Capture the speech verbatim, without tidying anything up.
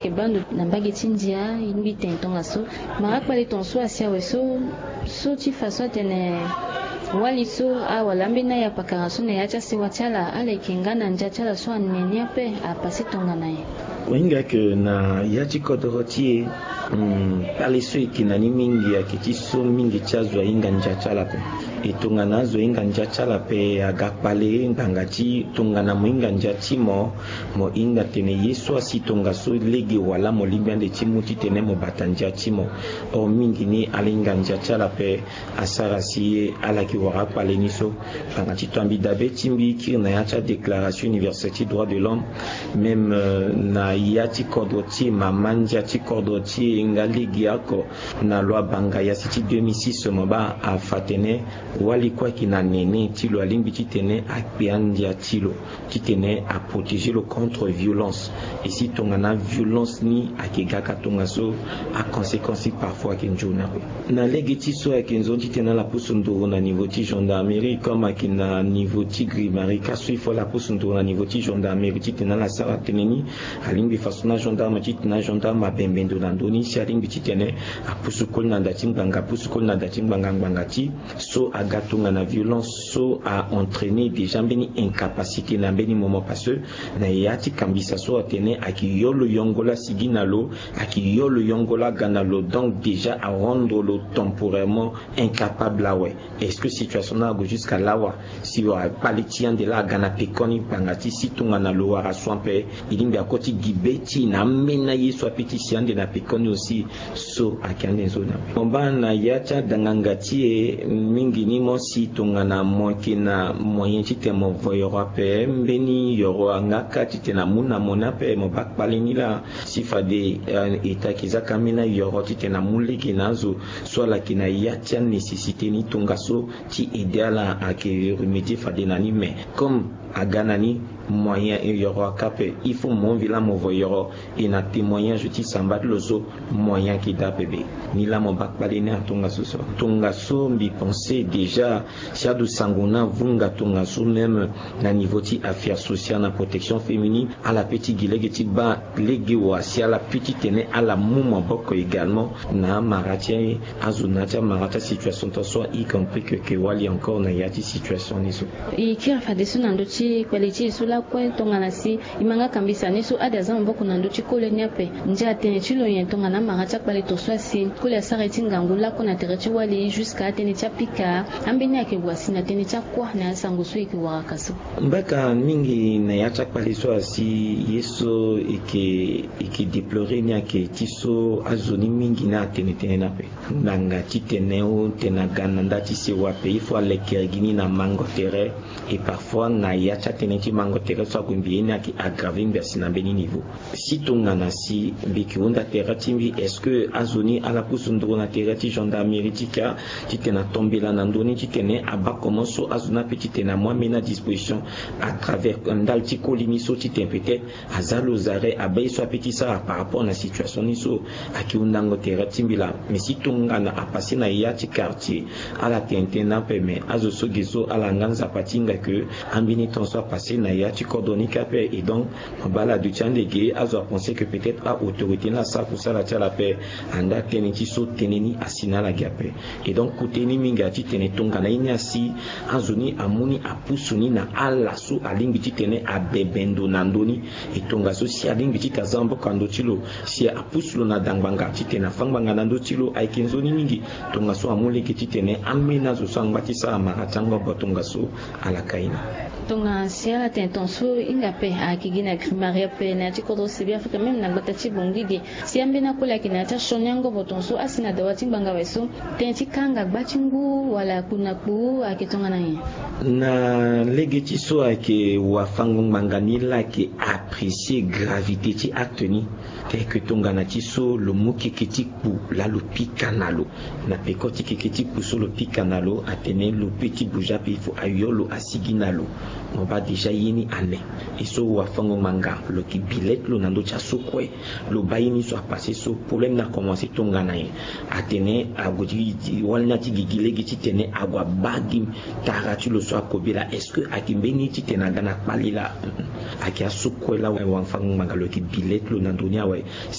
Yeke baa ndo na mbage ti ndia, e lingbi tene tongaso mara kpale tongaso asi awe so, so ti fa so atene wali so awala ambeni aya pakara so na ya ti asewa ti ala, ala yeke nga na ndia ti ala so ane ni ape, apase tongana nyen? Mo hinga ke na ya ti kodoro ti e, hmm, kpale so e yeke na ni mingi ayeke ti so mingi ti azo ahinga ndia ti ala ape. E tongana azo ahinga ndia ti ala ape aga kpale ngbanga ti tongana mo hinga ndia ti mo, mo hinga tene ye so asi tongaso lege wala mo lingbi ande ti mu titene mo bata ndia ti mo. Or mingi ni ala hinga ndia ti ala ape, asara si ala yeke wara akpale ni so. Ngbanga ti to ambi dabe ti mbi kiri na ya ti adéclaration universelle ti droit de l'homme, même, euh, na ya ti kodro ti e, mama ndia ti kodro ti e nga lege oko na loi Bangaya si ti deux mille six, mo baa afa tene wali kue ayeke na nene ti lo alingbi titene akpe andia ti lo, titene aprotéger lo contre violence. E si tongana violence ni ayeke ga ka tongaso, aconséquence ni parfois ayeke nzoni ape. Na lege ti so ayeke nzoni titene ala pusu nduru na niveau ti gendarmerie, comme ayeke na niveau ti grimari ka so il faut ala pusu nduru na niveau ti gendarmerie titene ala sara tënë ni. Alingbi façon na gendarme titene agendarme abembe ndo na ndö ni si alingbi titene apusu koli na da ti ngbanga, apusu koli na da ti ngbanga, ngbanga ti so aga tongana violence so a entraîner déjà mbeni incapacité na mbeni moment, parce que na ya ti kambisa so atene ayeke yo lo yongo la asigi na lo, ayeke yo lo yongo la aga na lo, donc déjà arendre lo temporairement incapable awe. Est-ce que situation ni ague jusqu'à lawa? Si wa kpale ti ande la aga na pekoni ngbanga ti si tongana lo wara so ape, e lingbi akoti gi be ti e na amena ye so ape ti si ande na pekoni aussi. So ayeke ande nzoni ape. Mo baa na ya ti adanganga ti e mingi ni, mo si tongana mo yeke na moyen titene mo vo yoro ape, mbeni yoro anga ka titene amu na mo ni ape, mo baa kpale ni la. Si fade, eh, État ayeke za ka amena yoro titene amu lege na azo so ala yeke na ya ti anécessité ni tongaso ti aider ala ayeke remédier fade na ni, mais comme aga na ni moyen e yoro aka ape, il faut mo mvi la mo vo yoro. E na témoignage ti samba ti lo so, moyen ayeke daa ape be. Ni la mo baa kpale ni atongaso so. Tongaso mbi pense déjà si adu sango ni avunga tongaso même na niveau ti affaire sociale na protection féminine, ala pe ti gi lege ti baa lege wa si ala pe titene ala mu maboko également na amara ti azo na ya ti amara ti asituation tongaso, y compris que, que wali encore na ya ti situation ni so. E kiri fadeso na ndö ti kpale ti e so lakue tongana si e ma nga kambisa ni so ade aza maboko na ndö ti kole ni ape. Ndia atene ti lo nyen tongana amara ti akpale tongaso asi koli asara ye ti ngangu lakue na tere ti wali jusqu'à atënë ti apika? Ambeni ayeke wa si na tënë ti akua na asango so e yeke waraka so? Mbaka mingi na ya ti akpale so asi ye so e yeke, e yeke déplorer ni ayeke ti so azo ni mingi ni atene tënë ni ape. Ngbanga titene o tene aga na nda ti sewa ape, il faut alekere gi ni na mango tere. Et parfois na ya ti atënë ti mango tere so ague mbi ye ni ayeke aggraver mbi asi na mbeni niveau. Si tongana si mbi yeke hunda tere ti mbi, est-ce que azo ni ala pusu nduru na tere ti gendarmerie ti ka titene atombela na ndö ni titene abaa comment so azo ni ape titene amu amena disposition à travers ndali ti koli ni so titene peut-être aza lo zare abaa ye so ape ti sara par rapport na situation ni so? Ayeke hundango tere ti mbi laa. Mais si tongana apase na ya ti quartier, ala tene tënë ni ape, mais azo so ge so ala nga nzapa ti hinga ke ambeni temps so apase na ya ti kodro ni ka ape. Et donc mo baa ala duti ande ge, azo apenser que peut-être a-autorité ni asara kusala ti ala ape. Anda tënë ti so tënë ni asi na ala ge ape. Et donc kute ni mingi ati tene tongana ye ni asi, azo ni amu ni apusu ni na ala so alingbi titene abebe ndo na ndö ni. E tongaso si alingbi titene aza maboko na ndö ti lo, si apusu lo na da ngbanga titene afâ ngbanga na ndö ti lo, ayeke nzoni mingi. Tongaso amu lege titene ambeni azo so angba ti sara mara ti angobo tongaso ala ka ye ni. Tongana si ala tene tongaso e hinga ape ayeke gi na grimari ape na ya ti kodro Sibi Afrika même na gbata ti Bangui ge. Si ambeni akoli ayeke na ya ti asioni angobo tongaso asi na dawa ti ngbanga awe so, tënë ti kanga gba ti ngu wala kpu na kpu ayeke tongana nyen? Na lege ti so ayeke wafango ngbanga ni la ayeke apprécier gravité ti acte ni. Teke tongana ti so lo mu keke ti kpu laa lo pika na lo. Na peko ti keke ti kpu so lo pika na lo, atene lo pe ti bouger ape, il faut ayo lo asigi na lo. Mo baa déjà ye ni ane. E so wafango ngbanga lo yeke bi le ti lo na ndö ti aso kue. Lo baa ye ni so apase so, problème ni akomanse tongana nyen? Atene ague ti wali ni ati gigi lege titene ague abaa gi tara ti lo so akobela. Est-ce que ayeke mbeni titene aga na kpale laa? Ayeke aso kue laa wafango ngbanga lo yeke bi le ti lo na ndö ni awe. si